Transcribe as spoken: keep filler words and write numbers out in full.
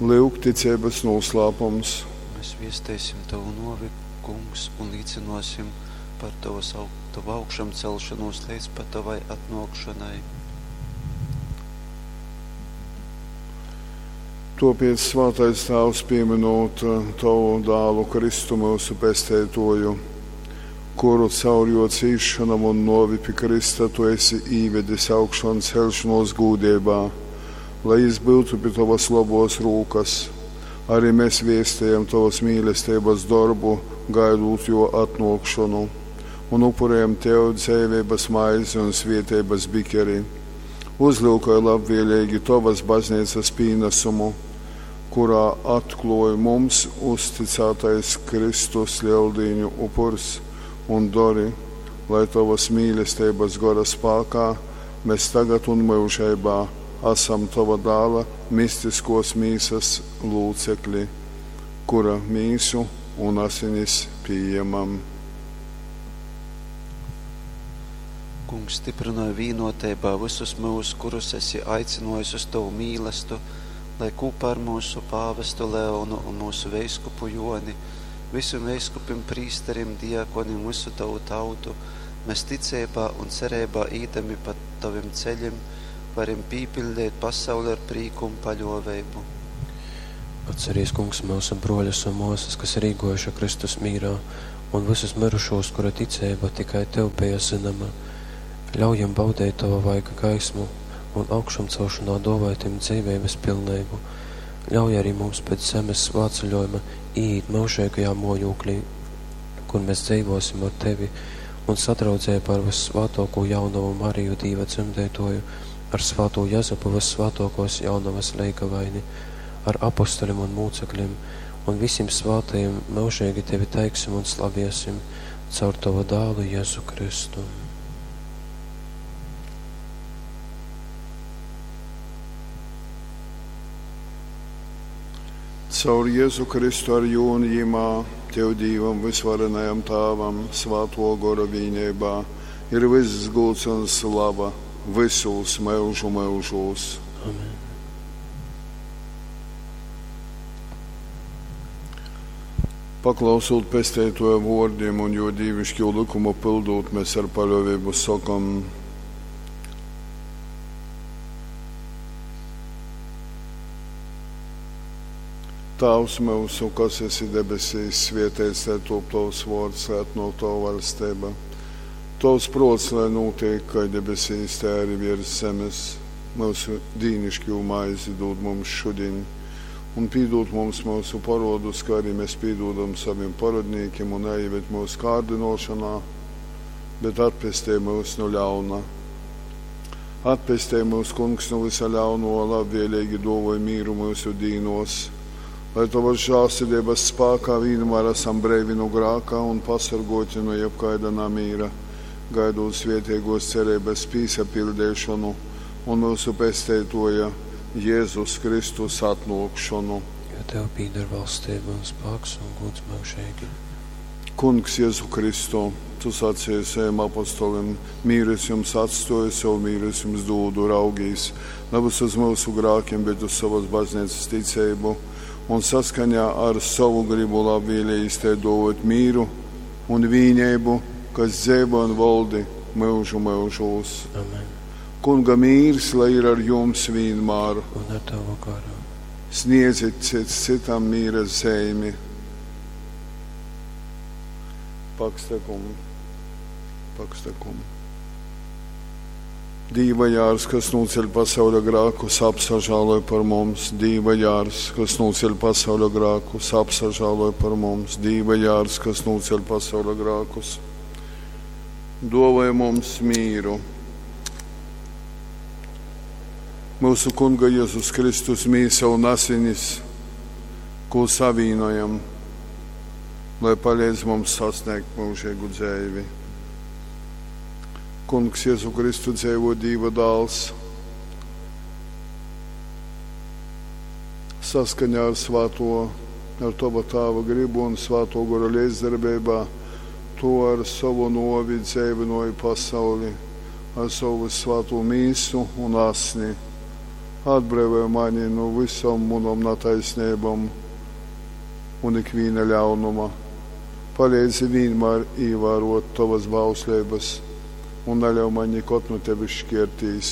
Lyuk ticeibys nūslāpums. Mēs viesteisim tovu nuovi, Kungs, un līcynōsim par tovas, tovu augšamceļšonūs leidz pat tovai atnōkšonai. Tuopiec, Svātais Tāvs, pīmynūt tovu dālu Kristu myusu Pesteituoju, kuru caur juo cīsšonom un nuovi pi krysta tu esi īvedis augšonceļšonuos gūdeibā, lai jis byutu pi tovys lobuos rūkys, ari mes viestejam tovys mīlesteibys dorbu, gaidūt juo atnuokšonu, un upurejam tev dzeiveibys maizi un svieteibys bikeri. Uzlyukoj labvieleigi tovys bazneicys pīnasumu, kurā atkluoj mums uzticātais Kristus Leldīņu upurs, un dori, lai tovys mīlesteibys gora spākā mes tagad un myužeibā asam tova dāla mistiskuos mīsys lūcekli, kura mīsu un asinis pījamam. Kungs, styprynoj vīnoteibā vysus myus, kurus esi aicynōjis uz tovu mīlastu, lai kūpā ar myusu pāvestu Leonu un myusu veiskupu Jōni, vysim veiskupim, prīsterim, diakonim, vysu tovu tautu, mes ticeibā un cereibā īdami pa tovim ceļim, varim pīpiļdeit pasauli ar prīku un paļōveibu. Atcerīs, Kungs, myusu bruoļus un muosys, kas ir īguojuši Kristus mīrā, un vysus myrušūs, kuru ticeiba tikai Tev beja zynoma. Ļauj jim baudeit Tova vaiga gaismu un augšamcelšonā duovoj tim dzeiveibys pilneibu. Ļauj ari mums pēc zemes svātceļuojuma īīt myužeigajā muojūklī, kur mēs dzeivuosim ar Tevi un sadraudzeibā ar vyssvātuokū jaunovu Mariju Dīva dzemdeituoju, ar svātū Jezupu vyssvātuokuos jaunovys leigavaini, ar apostolim un mūceklim un vysim svātajim myužeigi Tevi teiksim un slaviesim caur Tovu dālu Jezu Kristu. Caur Jezu Kristu ar jū un jimā, Tev Dīvam vysvarenajam Tāvam, Svātuo Gora vīneibā, ir vyss gūds un slava vysūs myužu myužūs. Amen. Paklausūt Pesteituoja vuordim un juo dīviškū lykumu pyldūt, mes ar paļuoveibu sokom: Tāvs myusu, kas esi debesīs, svieteits lai tūp tovs vuords, lai atnuok tova vaļsteiba. Tovs pruots lai nūteik kai debesīs, tai ari viers zemis. Myusu dīniškū maizi dūd mums šudiņ, un pīdūd mums myusu poruodus, kai arī mes pīdūdam sovim porodnīkim, un naieved myusu kārdinošanā, bet atpestej myus nu ļauna. Atpestej myus, Kungs, nu vysa ļaunuo, labvieleigi duovoj mīru myusu dīnuos, lai tovys žālsirdeibys spākā vīnmār asam breivi nu grāka un pasorguoti nu jebkaida namīra, gaidūt svieteiguos cereibys pīsapiļdeišonu un myusu Pesteituoja Jezus Kristus atnuokšonu. Jo Tev pīdar valstība un spāks un gūds myužeigi. Kungs Jezu Kristu, tu sacīji saviem apostolim, mīru es jums atstoju, savu mīru es jums dūdu, raugīs, nevis uz mūsu grākiem, bet uz savas baznīcas ticību, un saskaņā ar savu gribu labvēlīgi te dot mīru un vīneibu, kas dzeivo un valdi myužu myužūs. Amen. Kunga mīrs, lai ir ar jums vienmēr. Un ar tavu garu. Sniedzit cits citam mīra zeimi. Pakstakum, pakstakum. Dīva jārs, kas nūceļ pasauļa grākus, apsažāloj par mums. Dīva jārs, kas nūceļ pasauļa grākus, apsažāloj par mums. Dīva jārs, kas nūceļ pasauļa grākus, duovoj mums mīru. Myusu Kunga Jezus Kristus mīsa un asinis, ko savīnojam, lai palīdz mums sasniegt mūžīgu dzeivi. Kungs Jezu Kristu dzeivo Dīva dāls, saskaņā ar svāto, ar tova tāva gribu un svāto gora līdzdarbeibā, tu ar savu novi dzeivinoji pasauli, ar savu svāto mīsu un asni, Atbreivoj mani nu vysom munom nataisneibom un ikvīna ļaunuma. Paleidzi vīnmār īvārōt tovas bausleibas un naļauj maņ nikod nu tevis škērtīs.